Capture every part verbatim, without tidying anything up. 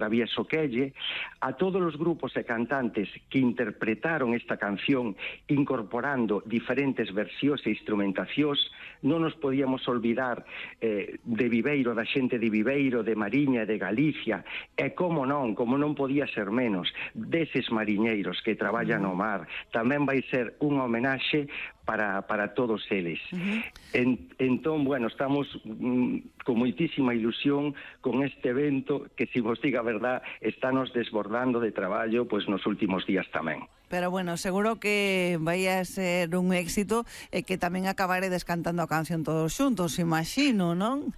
Travieso Quelle, a todos os grupos e cantantes que interpretaron esta canción incorporando diferentes versións e instrumentacións. Non nos podíamos olvidar eh, de Viveiro, da xente de Viveiro, de Mariña, de Galicia, e como non, como non podía ser menos, deses mariñeiros que traballan no mar. Tamén vai ser unha homenaxe para, para todos eles. Uh-huh. En, entón, bueno, estamos mm, con moitísima ilusión con este evento que, se vos diga a verdad, está nos desbordando de traballo pois nos últimos días tamén. Pero bueno, seguro que vai a ser un éxito e que tamén acabaredes cantando a canción todos xuntos, imagino, non?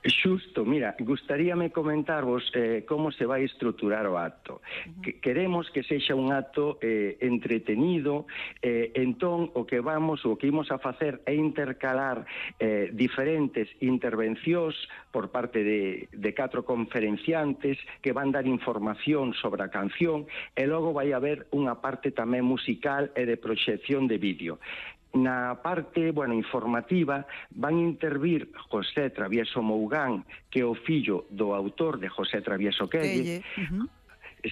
Xusto, mira, gustaríame comentarvos eh, como se vai estruturar o acto. Uh-huh. Que queremos que sexa un acto eh, entretenido, eh, entón o que vamos, o que imos a facer é intercalar eh, diferentes intervencións por parte de, de catro conferenciantes que van dar información sobre a canción, e logo vai haber unha parte tamén musical e de proxección de vídeo. Na parte, bueno, informativa van intervir José Travieso Mougán, que é o fillo do autor de José Travieso Quelle. Uh-huh.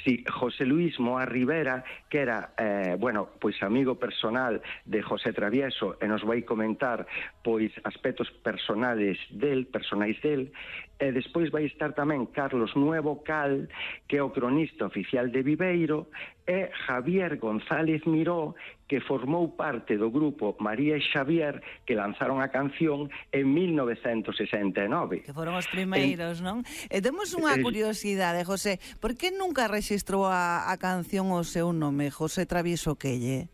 Sí, José Luis Moa Rivera, que era, eh, bueno, pois amigo personal de José Travieso, e nos vai comentar pois aspectos personales del, personais del. E despois vai estar tamén Carlos Nuevo Cal, que é o cronista oficial de Viveiro, e Javier González Miró, que formou parte do grupo María e Xavier, que lanzaron a canción en mil novecentos sesenta e nove. Que foron os primeiros, en... non? E temos unha curiosidade, José, por que nunca rexistrou a, a canción o seu nome, José Travieso Quelle?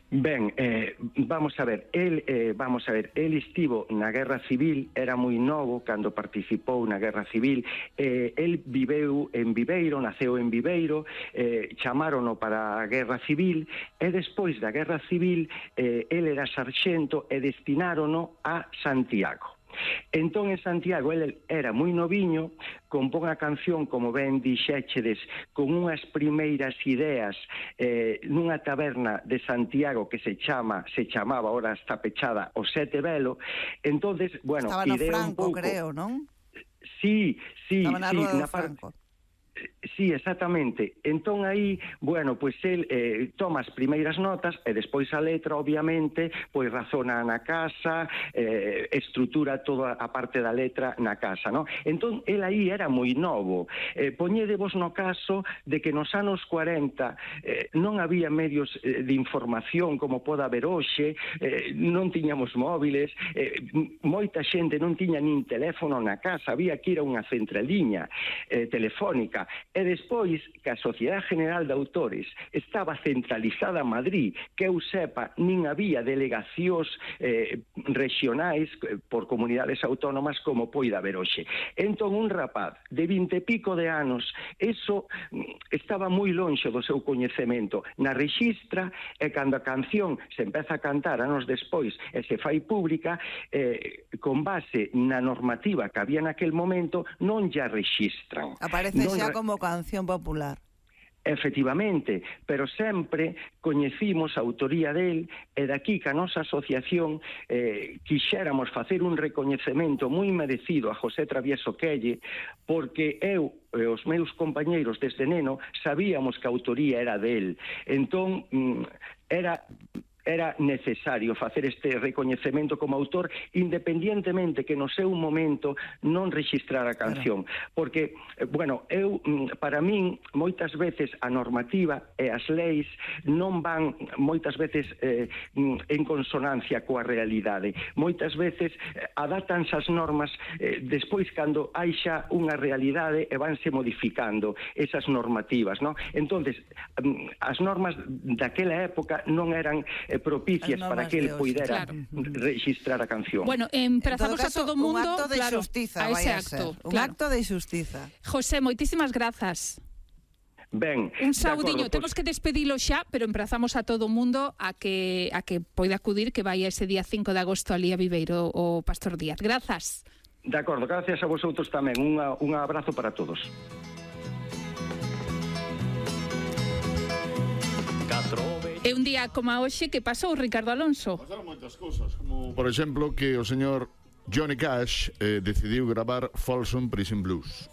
Ben, eh, vamos a ver, el, eh, vamos a ver, el estivo na Guerra Civil, era moi novo cando participou na Guerra Civil, eh, el viveu en Viveiro, naceu en Viveiro, eh, chamárono para a Guerra Civil, e despois da Guerra Civil, eh, el era sarxento e destinárono a Santiago. Entón, en Santiago, ele era moi noviño, compón a canción, como ben dixéchedes, con unhas primeiras ideas eh, nunha taberna de Santiago que se chama, se chamaba, ahora está pechada, o Sete Velo. Entonces, bueno, estaba no Franco, pouco... creo, non? Sí, sí, estaba na sí, Rueda na do Franco. Par... Sí, exactamente. Entón aí, bueno, pois el eh, toma as primeiras notas e despois a letra, obviamente, pois razona na casa, eh, estrutura toda a parte da letra na casa, non? Entón, el aí era moi novo. Eh, poñedevos no caso de que nos anos cuarenta eh, non había medios eh, de información como pode haber hoxe, eh, non tiñamos móviles, eh, moita xente non tiña nin teléfono na casa, había que ir a unha centraliña eh, telefónica. E despois que a Sociedade General de Autores estaba centralizada en Madrid, que eu sepa, nin había delegacións eh, regionais eh, por comunidades autónomas como poida haber hoxe. Entón, un rapaz de vinte e pico de anos, eso estaba moi lonxe do seu coñecemento. Na rexistra, e cando a canción se empeza a cantar anos despois e se fai pública, eh, con base na normativa que había naquel momento, non ya rexistran. Aparece non xa como canción popular. Efectivamente, pero sempre coñecimos a autoría del, e daqui que a nosa asociación eh, quixéramos facer un recoñecemento moi merecido a José Travieso Quelle, porque eu e os meus compañeiros desde neno sabíamos que a autoría era del. Entón, era... era necesario facer este recoñecemento como autor, independientemente que no seu momento non registrar a canción. Porque, bueno, eu, para min, moitas veces a normativa e as leis non van moitas veces eh, en consonancia coa realidade. Moitas veces adátanse as normas eh, despois cando hai xa unha realidade e vanse modificando esas normativas, non? Entonces, as normas daquela época non eran propicias para que él puidera claro. registrar a canción. Bueno, emprazamos caso, a todo mundo... Un acto de claro, xustiza, a ese vai a acto. ser. Un claro. acto de xustiza. José, moitísimas grazas. Ben, un saudiño, temos pues... que despedilo xa, pero emprazamos a todo mundo a que a que poida acudir, que vai ese día cinco de agosto ali a Viveiro o Pastor Díaz. Grazas. De acordo, gracias a vosotros tamén. Unha, un abrazo para todos. É un día como a hoxe que pasou, Ricardo Alonso. Pasaron moitas cousas, como por exemplo que o señor Johnny Cash eh, decidiu gravar Folsom Prison Blues.